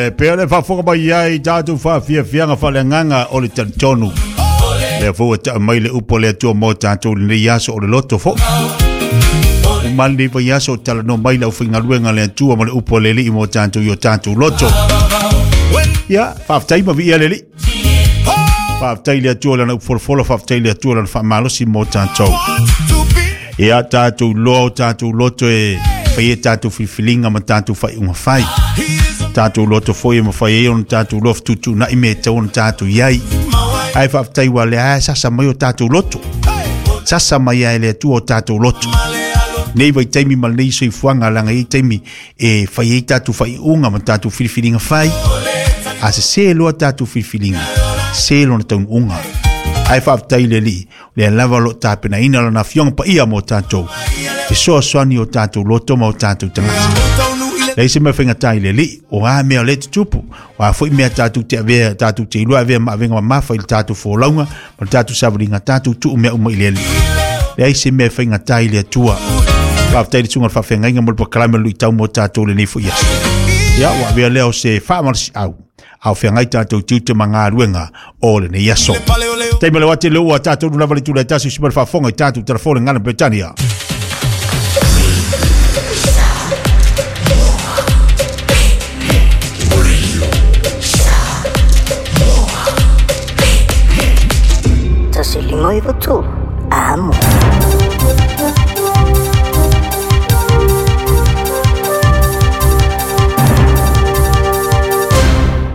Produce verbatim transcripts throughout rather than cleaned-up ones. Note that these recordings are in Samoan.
E pea le faafofoga mai ai tatou faafiafiaga faaleagaga o le talitonu. Lea foi ua taa mai le upu a le Atua mo tatou lenei aso o le loto foi. Uma lenei vaiaso o talanoa mai le aufaigaluega a le Atua ma le upu a le Alii mo tatou i o tatou loto. Ia, faafetai ma viia le Alii. Faafetai i le Atua lana upu folafola, faafetai i le Atua lana faamalosi mo tatou. Ia tatou loa o tatou loto e fai e tatou filifiliga ma tatou faaiuga fai. Tatou loto foi e mafai ai ona tatou loa fetuutuunai mea e tatau ona tatou i ai. Ae faafetai ua lea lava e sasa mai o tatou loto. Sasa mai lava e le Atua o tatou loto. Nei vaitaimi ma lenei soifuaga leaga e i ai taimi e fai ai tatou faaiuga ma tatou filifiliga fai. A sesē loa tatou filifiliga, sē lona taunuuga. Ae faafetai i le Alii, o lea lava o lo o tapenaina lana Afioga Paia mo tatou, fesoasoani o tatou loto ma o tatou tagata. Leai se mea faigata i le Alii, o a mea o lea e tutupu, o a foi mea tatou te avea, tatou te iloa avea ma avega mamafa i le tatou folauga ma le tatou savaliga, tatou tuu mea uma i le Alii. Leai se mea e faigata i le Atua. Faafetai i le susuga i le faafeagaiga mo le polokalame o le luitau mo tatou lenei foi aso. Ia, ua avea lea o se faamalosiau a o feagai tatou tiute ma galuega o lenei aso. Taimi o le ate le ua tatou nu lava le itula e tasi usi mai le faafofoga i tatou telefone gana Peretania. Tasi lima iwa tolu. Amo.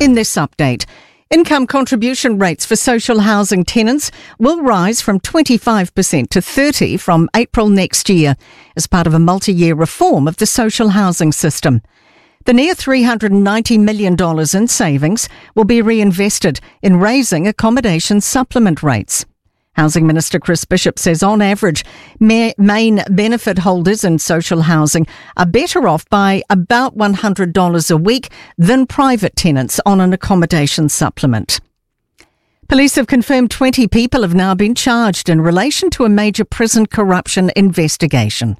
In this update, income contribution rates for social housing tenants will rise from twenty-five percent to thirty percent from April next year as part of a multi-year reform of the social housing system. The near three hundred ninety million dollars in savings will be reinvested in raising accommodation supplement rates. Housing Minister Chris Bishop says on average, ma-, main benefit holders in social housing are better off by about one hundred dollars a week than private tenants on an accommodation supplement. Police have confirmed twenty people have now been charged in relation to a major prison corruption investigation.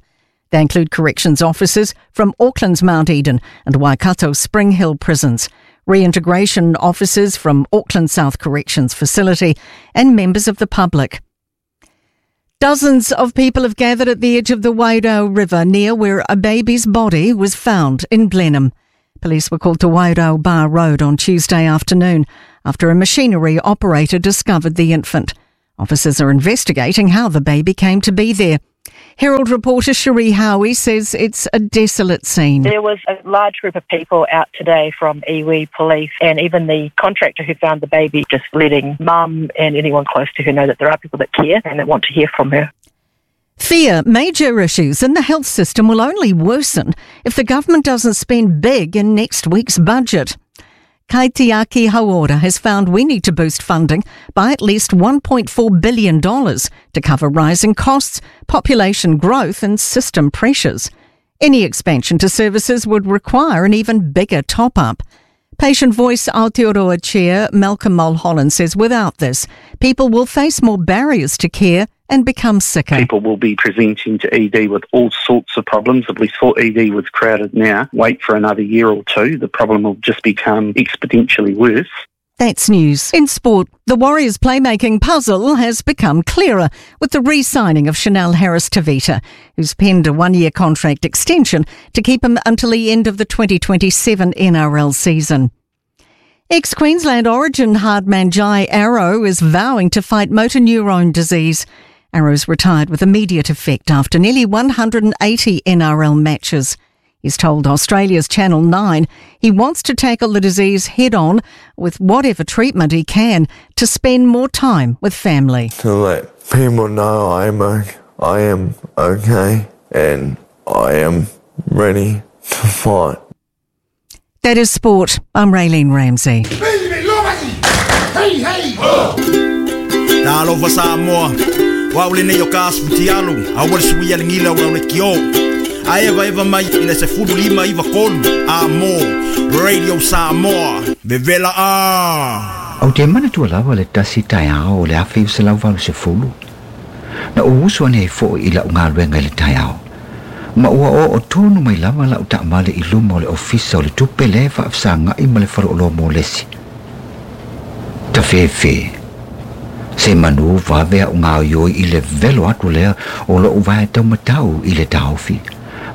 They include corrections officers from Auckland's Mount Eden and Waikato Spring Hill prisons, reintegration officers from Auckland South Corrections Facility and members of the public. Dozens of people have gathered at the edge of the Wairau River near where a baby's body was found in Blenheim. Police were called to Wairau Bar Road on Tuesday afternoon after a machinery operator discovered the infant. Officers are investigating how the baby came to be there. Herald reporter Cherie Howie says it's a desolate scene. There was a large group of people out today from iwi, police, and even the contractor who found the baby, just letting mum and anyone close to her know that there are people that care and that want to hear from her. Fear major issues in the health system will only worsen if the government doesn't spend big in next week's budget. Kaitiaki Hauora has found we need to boost funding by at least one point four billion dollars to cover rising costs, population growth and system pressures. Any expansion to services would require an even bigger top-up. Patient Voice Aotearoa Chair Malcolm Mulholland says without this, people will face more barriers to care and become sicker. People will be presenting to E D with all sorts of problems. If we thought E D was crowded now, wait for another year or two, the problem will just become exponentially worse. That's news. In sport, the Warriors' playmaking puzzle has become clearer with the re-signing of Chanel Harris-Tavita, who's penned a one-year contract extension to keep him until the end of the twenty twenty-seven N R L season. Ex-Queensland Origin hardman Jai Arrow is vowing to fight motor neurone disease. Arrow's retired with immediate effect after nearly one hundred eighty N R L matches. He's told Australia's Channel nine he wants to tackle the disease head-on with whatever treatment he can to spend more time with family. To let people know I'm okay, I am okay and I am ready to fight. That is sport. I'm Raylene Ramsey. Hey, hey, ho! Talofa Samoa. Wa ule nei o ka asfutialu, a ua sui ale ngila ua le kio. A eva eva mai i le se fulu lima iwa kolu, a mo, Radio Samoa, vevela a. Au te mana tua lava le tasi tai ao o le afe se lau valu se fulu. Na o usu ane e fo i la unga luenga i le tai ao. Ma ua o o tonu mai lava lau taavale i luma o le ofisa o le tupe le faafesagai ma le faleoloa mo lesi. Tafefe. Se manu vave au ngā ioi i le velo atu lea o lou vae taumatau i le taofi.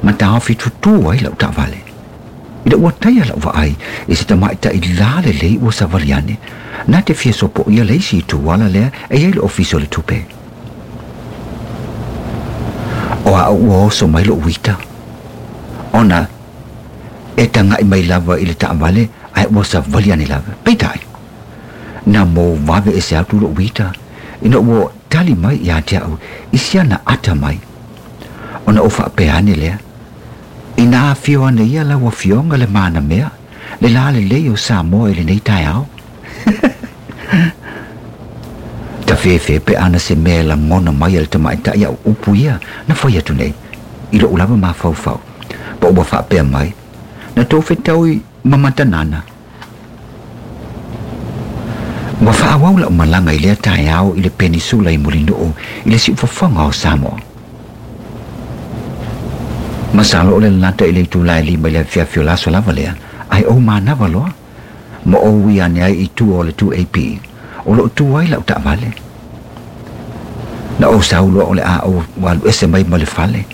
Ma taofi tutu ai lau taavale. Ina ua taia lau vaai i se tamaitai la lelei ua savali ane. Na te fia sopo ia leisi i tuala lea e iai le ofisa o le tupe. O a ua oso mai lou uita. Ona e tangai mai lava i le taavale ai ua savali ane lava. Peitai. Na mo vave e se atu lou uita. Ina ua tali mai ia te au i siana ata mai. Ona o faapea ane lea. Ina afio ane ia lau afioga le mana mea, le la lelei o Samoa i lenei taeao. Tafefe pe ana se mea lagona mai a le tamaitai au upu ia na fai atu nei, i lou lava mafaufau. Pa ua faapea mai, na tou fetau i mamatanana. Ua faaauau lau malaga i lea taeao i le penisula i Mulinuu i le siufofoga o Samoa. Masalo o le lalata i le itula e lima i le afiafi o le aso lava lea, ai ou manava loa. Ma ou ui ane ai i tua o le two A P, o loo tu ai lau taavale. Na ou sau loa o le a ou alu ese mai ma le fale.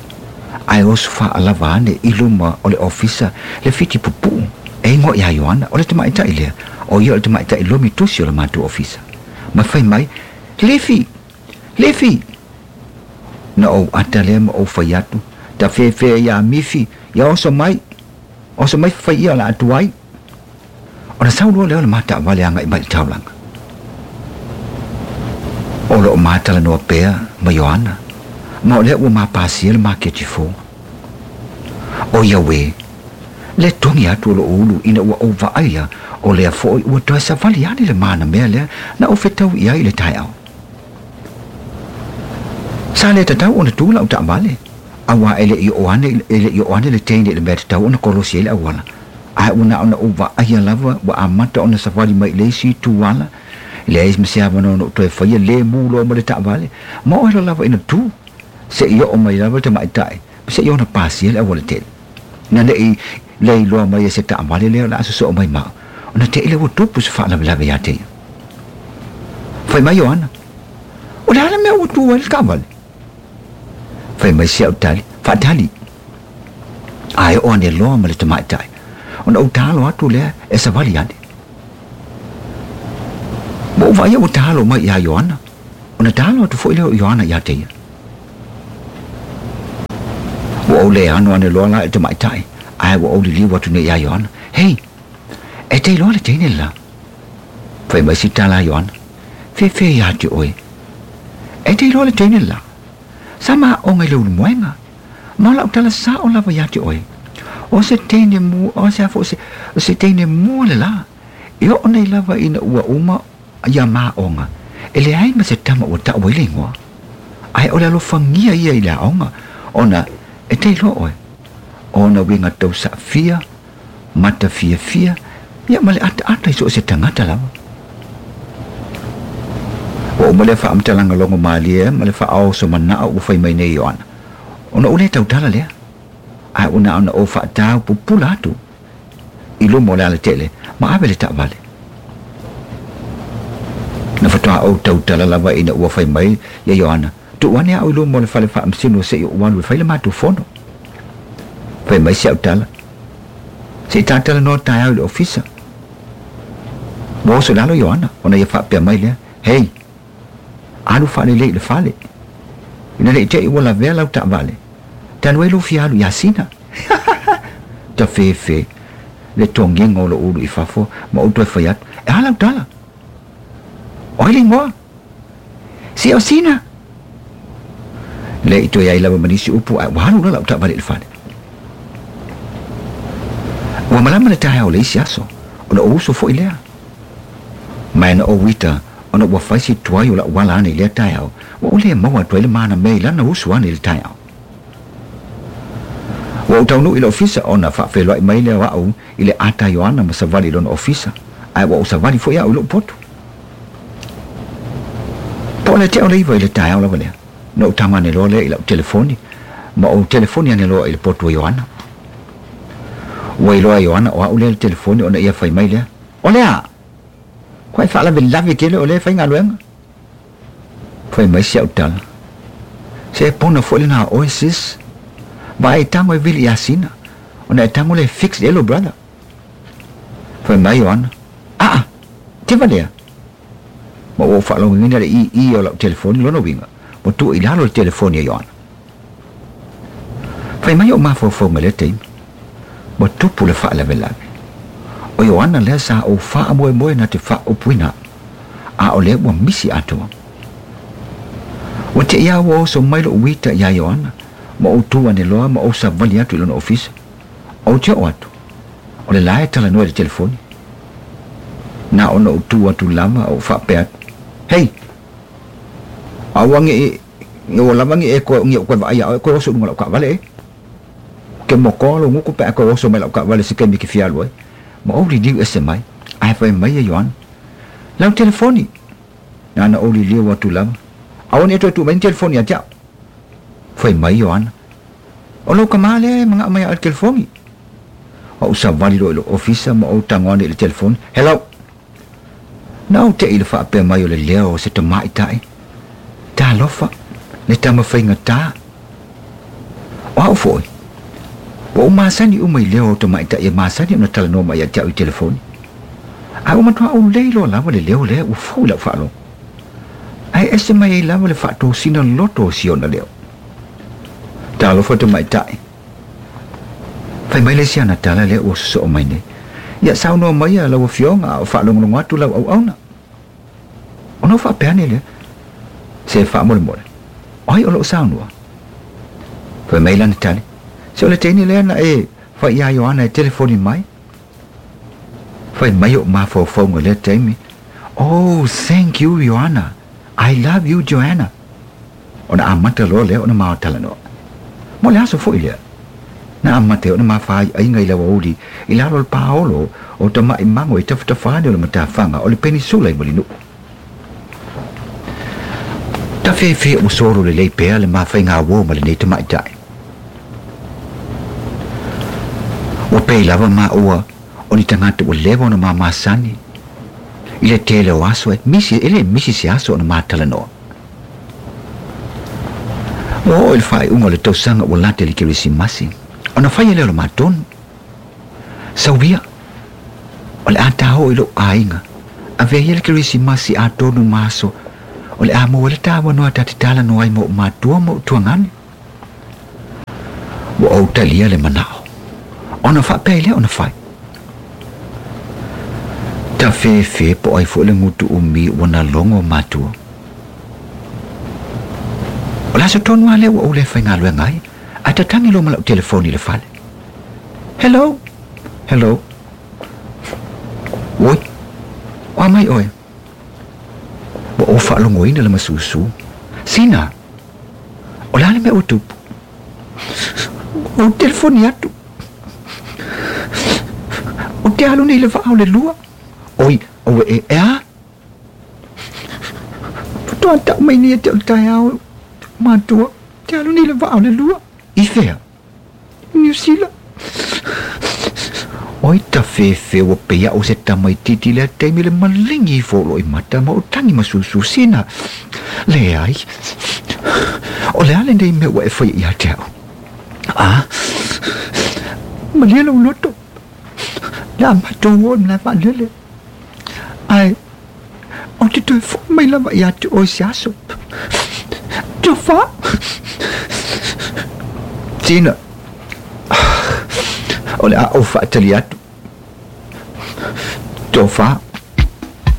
Ai oso faalava ane i luma o le ofisa le fiti pupuu. E ingoa ia Ioana, o le tamaitai lea, o ia o le tamaitai lomi tusi o le matou ofisa. Ma fai mai, Lefi, Lefi! Na ou ata lea ma ou fai atu, ta fefe ia mifi, ia oso mai, oso mai fai ia la atu ai. Ona sau loa lea o le mataavale agai mai i le taulaga. O loo matalanoa pea ma Ioana, ma o lea ua mapasia le maketi fou. O ia uē, le togi atu o loo ulu ina ua ou vaaia o lea foʻi ua toe savali ane le mana mea lea na ou fetau i ai i le taeao. Sa le tatau ona tu lau taavale. Auā e leʻi oo ane e leʻi oo ane le teine i le mea tatau ona kolosi ai le auala. Ae ua na ona ou vaaia lava ua amata ona savali mai i le isi itu ala. Leai ma se avanoa na ou toe faia lē mu loa ma le taavale. Ma o ela lava ina tu. Seʻi oo mai lava le tamaitai. Seʻi ona pasia le auala tele. Na leʻi le iloa mai e se taavale lea o le a sosoo mai mao. Ona teʻi le ua tupu se faalavelave iā te ia. Fai mai Ioana. O le a le mea ua tu ai le taavale. Fai mai si au tali, faatali. Ae o ane loa ma le tamaitai. Ona ou talo atu lea e savali ane. Ma ou vaai ua talo mai iā Ioana. Ona talo atu foʻi lea o Ioana iā te ia. Ua ou le ano ane loa la i le tamaitai. Ae ua ou liliu atu nei iā Ioana. Hei, e te iloa le teine le la. Fai mai si tala a Ioana. Fefe iā te oe. E te iloa le teine le la. Sa maaoga i le ulumoega. Ma o lau tala sao lava iā te oe. O se teine mua, o se afo, o se, o se teine mua le la. E oo nei lava ina ua uma ia maaoga. E leai ma se tama ua taʻu ai le igoa. Ae o le alofagia ia i le aoga. Ona e te iloa oe. Ona uiga tau saafia, mata fiafia, ia ma le ataata i so o se tagata lava. Ua uma lea faamatalaga logo malie ma le faaoso manao ua fai mai nei Ioana. Ona ou lē tautala lea. Ae ua na ona ou faatau pupula atu i luma o le alatele ma ave le taavale. Na fatoā ou tautala lava ina ua fai mai ia Ioana. Tuu ane au i luma o le fale faamasino seʻi ou alu e fai le matou fono. Fai mai si au tala. Seʻi tatalanoa taeao i le ofisa. Ua oso i lalo Ioana, ona ia faapea mai lea. Hei, alu faalelei i le fale. Ina leʻi teʻi ua lavea lau taavale. Tanu ai lou fia alu iā Sina. Tafefe, le togiga o lou ulu i fafo ma ou toe fai atu. E a lau tala. O ai le igoa. Se o Sina. Le i toe ai lava ma nisi upu ae ua alu loa lau taavale i le fale. Ua malama le taeao o le isi aso, ona ou uso foʻi lea. Ma e na ou ita, ona ua fai si tuai o lau ala ane i lea taeao, ua ou lē maua atu ai le mana mea i lana usu ane i le taeao. Ua ou taunuu i le ofisa ona faafeloai mai lea o au i le ata Ioana ma savali i lona ofisa, ae ua ou savali foʻi au i lou potu. Po o le tea o le iva i le taeao lava lea. Na ou tago ane loa lea i lau telefoni, Ma ou telefoni ane loa i le potu o Ioana. Ua iloa Ioana o au lea le telefoni ona ia fai mai lea. O lea! Koe faalavelave tele o lea faigaluega. Fai mai si au tala. Se pona foʻi lenā oe sis. Vaai tago e vili iā Sina. Ona e tago le fix e lou brother. Fai mai Ioana. Aa! Teva lea. Ma ua ou faalogoina le ii o lau telefoni lona uiga. Ua tuu i lalo le telefoni a Ioana. Fai mai o mafaufauga lea taimi. Ua tupu le faalavelave. O Ioana lea sa ou faamoemoe na te faaupuina. A o lea ua misi atoa. Ua te ia ua oso mai lou uita iā Ioana. Ma ou tu ane loa ma ou savali atu i lona ofisa. Ou te oo atu. O le la e talanoa i le telefoni. Na ona ou tu atu lava ou faapea atu. Hei! Aua ne i ua lava ne e koe nge o koe vaai ia oe koe oso i luga o lau taavale e. Ke mokoa lou gutu pe a koe oso mai lau taavale se taimi e te fia alu ai. Ma ou liliu ese mai. Ae fai mai e Ioana. Lau telefoni. Na ona ou liliu atu lava. Aua ne i toe tuu mai ni telefoni ia te au. Fai mai Ioana. O lou kamā lea e manao mai ia oe i le telefoni. Ou savali loa i lou ofisa ma ou tago ane i le telefoni. Hello! Na ou te'i i le faapea mai o le leo o se tamaʻitaʻi. Talofa, le tamafaigatā. O au foʻi. Ua ou masani uma i leo o tamaʻitaʻi e masani ona talanoa mai ia te au i telefoni. Ae ua matuā ou lei loa lava le leo lea ua fou i lau faalogo. Ae ese mai ai lava le faatosina loto o si ona leo. Talofa tamaʻitaʻi. Fai mai le isi ana tala lea ua sosoo mai nei. Ia saunoa mai a lau afioga a o faalogologo atu lau auauna. Ona ou faapea ane lea. Se faamolemole. O ai o loo saunoa. Fai mai lana tali. Se o le teine lea na e fai iā Ioana e telefoni mai. Fai mai oʻu mafaufauga lea taimi. Oh, thank you Ioana. I love you Joanna. Ona amata loa lea ona ma talanoa. Mo le aso foʻi lea. Na amata ai ona mafaaiaiga i le aoauli i lalo o le paolo o tamaʻi mago i tafatafa ane o le matafaga o le penisula i Mulinuu. Tafefe ua solo lelei pea le mafaigauō ma lenei tamaʻitaʻi. Ua pei lava maua o ni tagata ua leva ona mamasani. I le tele o aso e misi, e le misi se aso ona matalanoa. Ua oo i le faaiuga o le tausaga ua lata i le Kerisimasi. Ona faia lea o le matonu. Sauia, o le a tāoo i lou aiga. Avea ia le Kerisimasi atonu ma aso. O le a maua ai le tāuanoa ta te talanoa ai ma ou matua ma ou tuagane. Ua ou talia le manao. Ona faapea ai lea ona fai. Tafefe po o ai foʻi le gutu umi ua na logo matua. O le aso tonu lava lea ua ou le faigaluega ai. Ae tatagi loa ma lau telefoni i le fale. Hello! Hello! Oi! O a mai oe? Ua ou faalogoina le masusu. Sina! O le a le mea ua tupu? Ua ou telefoni atu. Ou te alu nei i le vaa o le lua. Oi, aue e, e a? Faatoa tau mai nei ia te au i le taeao, matua. Te alu nei i le vaa o le lua. I fea? I Niu Sila. Oi tafefe ua pei au se tamaitiiti i lea taimi le maligi ifo o loo i mata ma ou tagi masusu sina. Leai. O le a lenei mea ua e faia ia te au? A? Malie lou loto. Le a matou o i le malae vaalele. Ae, ou te toe foʻi mai lava ia te oe se aso. Tofa! Sina. O le a ou faatali atu. Tofa.